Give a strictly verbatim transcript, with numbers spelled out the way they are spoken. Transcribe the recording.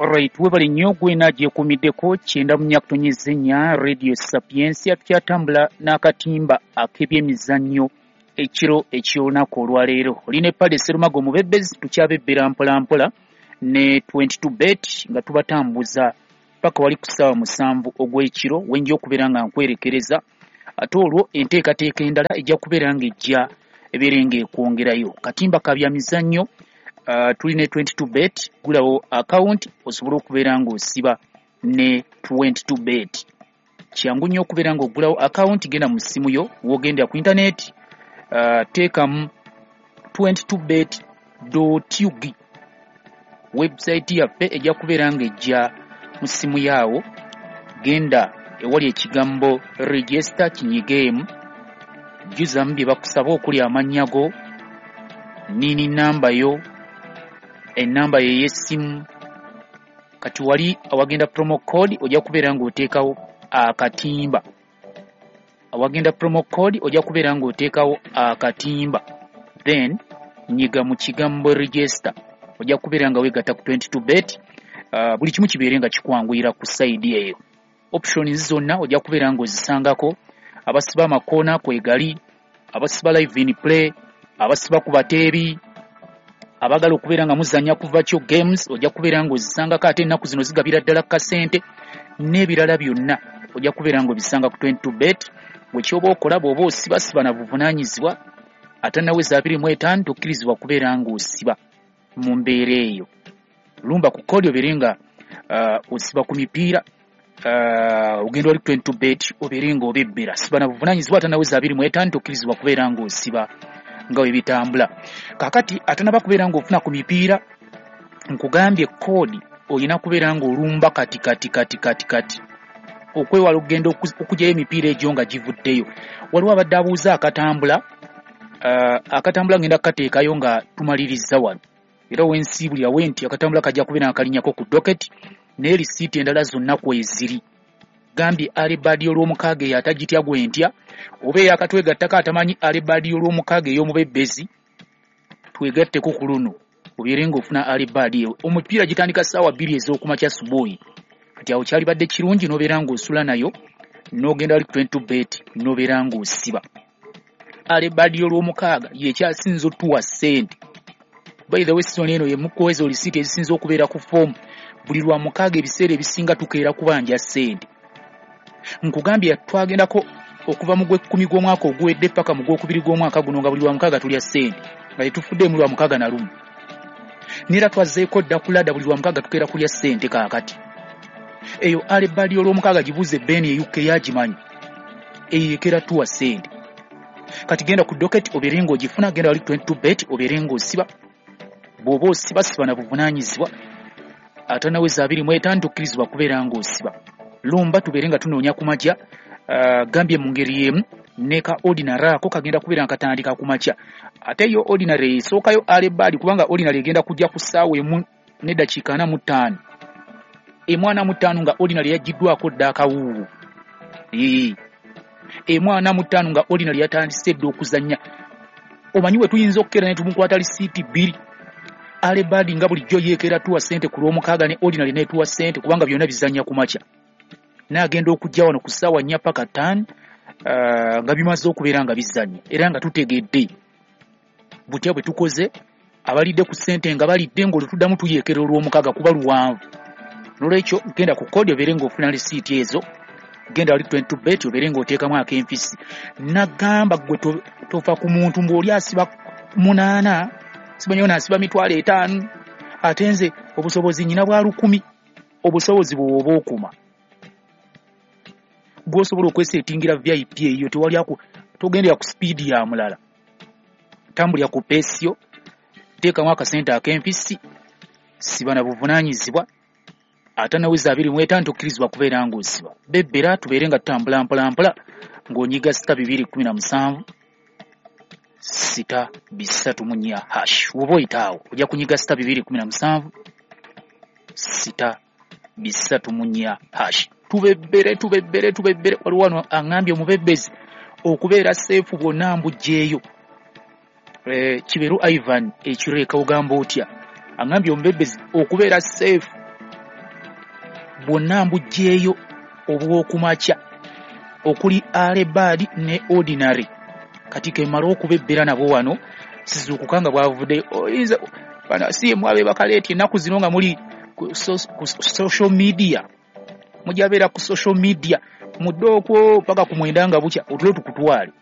Alright, webale nnyo gwena gyekuumiddeko kyenda mu nnya kutonnyeza ennya Radio Sapientia. Tukyatambula n'akatimba ak'ebyemizannyo ekiro eky'olunaku olwaleero. Olina eppale Serumago Mubebbezi, tukyabebbera mpolampola ne twenty-two bet nga tubatambuza paka wali ku ssaawa musanvu ogw'ekiro wenja okubeera nga nkwerekereza, ate olwo enteekateeka endala ejja kubeera ng'ejja ebeere ng'ekwongerayo. Katimba ka byamizannyo, uh, tulina twenty-two bet, gulawo account osobola okubeera ng'osiba ne twenty-two bet. Kyangu nnyo okubeera ng'ogulawo account, genda mu ssimu yo w'ogendera ku internet, uh, teekamu twenty-two bet dot U G. Website yaffe ejja kubeera ng'ejja mu ssimu yaawo, genda ewali ekigambo register kinyigeemu, jjuzamu bye bakusaba okuli amannya go, nini namba yo, ennamba ye ey'essimu. Kati wali awagenda promo code ojja kubeera ng'oteekawo akatimba. Awagenda promo code ojja kubeera ng'oteekawo akatimba, then nyiga mu kigambo register, ojja kubeera nga weegatta ku twenty-two bet. Uh, buli kimu kibeere nga kikwanguyira ku side eyo. Options zonna ojja kubeera ng'ozisangako, abasiba amakoona kwegali, abasiba live in play, abasiba ku bateebi, abaagala okubeera nga muzannya ku virtual games ojja kubeera ng'ozisangako, ate ennaku zino zigabira ddala kasente n'ebirala byonna ojja kubeera ng'obisanga ku twenty-two bet. Bwe kyoba okola bw'oba osibasiba na buvunaanyizibwa, ate naweza abiri mu etaano tokkirizibwa kubeera ng'osiba mu mbeera eyo. Lumba ku kodi obeere nga uh, osiba ku mipiira, uh, ogenda wali twenty-two bet obeere ng'obebbera. Siba na buvunaanyizibwa, ate naweza abiri mu etaano tokkirizibwa kubeera ng'osiba nga bwe bitambula. Kaakati atanaba kubeera ng'ofuna ku mipiira, nkugambye koodi olina kubeera ng'olumba kati kati kati kati kati okwewala okugenda okugyayo emipiira egyo nga givuddeyo. Waliwo abadde abuuza akatambula, uh, akatambula ngenda kukateekayo nga tumaliriza wano, era wensiibulira we nti akatambula kajja kubeera nga kalinnyako ku docket, naye risiiti endala zonna kweziri. Gambye alibadi olw'omukaaga eyo atagitya gwe ntya, oba eyakatwegattako atamanyi alibadi olw'omukaaga ey'omubebbezi, twegatteko ku luno obeere ng'ofuna alibadi eyo. Omupiira gitandika ssaawa bbiri ez'okumakya subuhi, kati awo kyalibadde kirungi n'obeera ng'osula nayo n'ogenda wali ku twenty-two bet n'obeera ng'osiba. Alibadi olw'omukaaga yekyasinza otuwa ssente. By the way, season eno ye mukweza olisiiti ezisinza okubeera ku foomu. Buli lwa mukaaga ebiseera ebisinga tukeera kubanja ssente. Nkugambye twagendako okuva mu gw'ekkumi gw'omwaka oguwedde paka mu gw'okubiri gw'omwaka guno nga buli lwa mukaaga tulya ssente, nga tetufuddeemu lwa mukaaga na lumu. Neera twazzeeko dda ku ladda, buli lwa mukaaga tukeera kulya ssente kaakati. Eyo alibadi olw'omukaaga gibuuze Ben e U K yagimanyi, eyo ekeera tuwa ssente. Kati genda ku docket obeere ng'ogifuna, genda wali twenty-two bet obeere ng'osiba. Bw'oba osiba siba na buvunaanyizibwa, ate naweza abiri mu etaano tokkirizibwa kubeera ng'osiba. Lumba tubeere nga tunoonya ku makya, uh, gambye mu ngeri y'emu ne ka ordinary ako kagenda kubeera nga katandika ku makya. Ate yo ordinary esookayo alibadi, kubanga ordinary egenda kujja ku ssaawa emu n'eddakiika ana mu ttaano. Emu ana mu ttaano nga ordinary yaggiddwako dda akawuuwo. Ee. Emu ana mu ttaano nga ordinary yatandise dda okuzannya. Omanyi we tuyinza okukeera ne tumukwata lisiiti bbiri. Alibadi nga bulijjo yeekera tuwa ssente ku lw'omukaaga ne ordinary n'etuwa ssente, kubanga byonna bizannya ku makya. N'agenda okujja wano ku ssaawa nnya paka ttaano, uh, nga bimaze okubeera nga bizannya, era nga tutegedde butya bwe tukoze. Abalidde ku ssente nga balidde, ng'olwo tuddamu tuyeekera olw'omukaaga kuba luwanvu. Noolwekyo genda ku kodi obeere ng'ofuna risiiti ezo, genda wali twenty-two bet obeere ng'oteekamu ak'enfisi. Nagamba ggwe tofa ku muntu ng'oli asiba munaana, simanyi ono asiba mitwalo etaano, ate nze obusobozi nnyina bwa lukumi. Obusobozi bw'oba okuma bw'osobola okwesetingira V I P eyo, tewali aku togendera ku sipiidi ya mulala, tambulira ku peesi yo, teekamu akasente ak'enfisi, siba na buvunaanyizibwa. Ate naweza abiri mu etaano tokkirizibwa kubeera ng'osiba. Bebbera tubeere nga tutambula mpola mpola ng'onyiga sita bibiri kkumi na musanvu sita bisatu mu nnya hash. Woba oyita awo ojja kunyiga sita bibiri kkumi na musanvu sita bisatu mu nnya hash. Tubebbere tubebbere tubebbere. Waliwo wano aŋŋambye omubebbezi okubeera seefu bwonna mbuggyeeyo. Eh, Kiberu Ivan ekireeka ogamba otya? Aŋŋambye omubebbezi okubeera seefu Bwonna mbuggyeeyo obw'okumakya okuli early bird ne ordinary. Kati kemala okubebbera nabo wano, sizuukuka nga bwavuddeyo. Oyinza bano si mwabe bakaleeti ennaku zino nga muli ku social media, mujabeera ku social media mudde okwo paka ku mwenda nga bukya, otulo tukutwale.